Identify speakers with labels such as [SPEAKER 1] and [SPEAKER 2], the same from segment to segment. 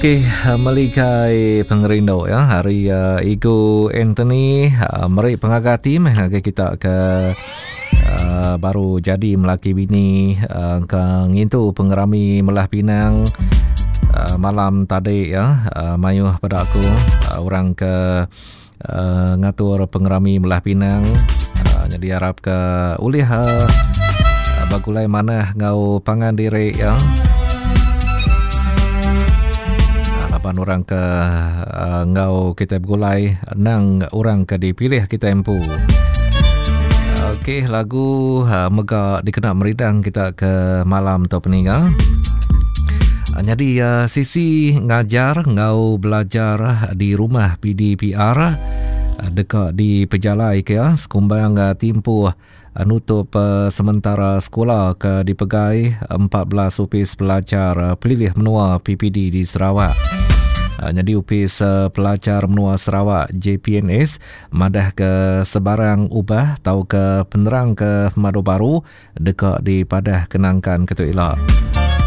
[SPEAKER 1] Okey, meligai pengerindu ya hari uh, Igu Anthony uh, meri pengaga ati meh ngagai kita ke uh, baru jadi melaki bini uh, ke ngintu pengerami melah pinang uh, malam tadi ya uh, mayuh pada aku uh, orang ke uh, ngatur pengerami melah pinang uh, jadi harap ke ulih uh, bagulai manah ngau pangan diri ya. Laban orang ke uh, ngau kita begulai nang orang ke dipilih kita empu. Okey, lagu uh, mega dikena meridang kita ke malam tu peninga. Nyadi uh, sisi ngajar ngau belajar di rumah PDPR deka dipejalai ke ya sekumbang uh, timpuh uh, nutup uh, sementara sekolah ke dipegai 14 opis pelajar uh, pelilih menua PPD di Sarawak. Uh, nyadi opis uh, pelajar menua Sarawak JPNS madah ke sebarang ubah tau ke penerang ke pemadu baru deka dipadah kenangkan ke tu ila.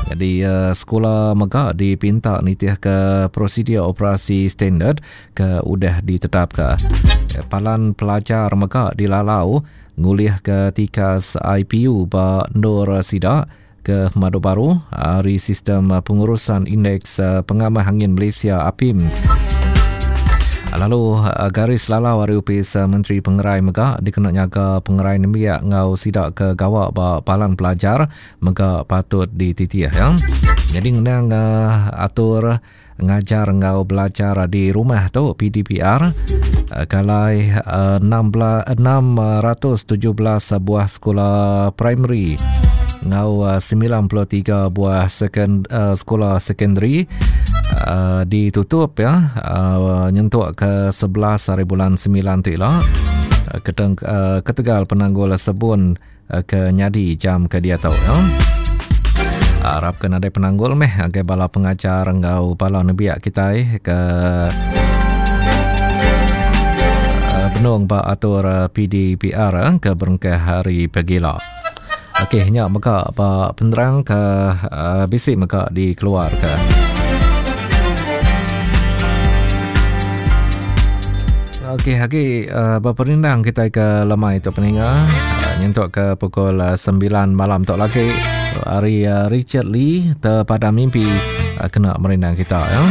[SPEAKER 1] Jadi uh, sekolah mega dipinta nitih ke prosedur operasi standard ke udah ditetapka. Palan pelajar mega dilalau ngulih ke tikas IPU ba endur sida ke madu baru ari sistem pengurusan indeks pengamah angin Malaysia APIMS. Lalu eh, garis lalau ari Opis eh, Menteri Pengerai mega dikena nyaga pengerai nembiak enggau sida ke gawa ba palan pelajar mega patut dititih ya. Jadi ngenang uh, atur ngajar enggau belajar di rumah tu PDPR uh, kalai uh, 16, 617 buah sekolah primary enggau 93 buah second, uh, sekolah secondary uh, ditutup ya uh, nyentuk ke 11 hari bulan 9 tu ila uh, keteng, uh, ketegal penanggul sebun uh, ke nyadi jam ke dia tau ya. Harap ke nadai penanggul meh agai bala pengajar enggau bala nembiak kitai ke uh, benung ba atur PDPR ke berengkah hari pagila. Okey, nya mega ba penerang ke uh, bisi mega dikeluarka. Okey, agi uh, beperindang kita ke lemai tu peninga. Uh, nyentuk ke pukul uh, 9 malam tu lagi. Hari uh, Richard Lee terpada mimpi uh, kena merindang kita ya.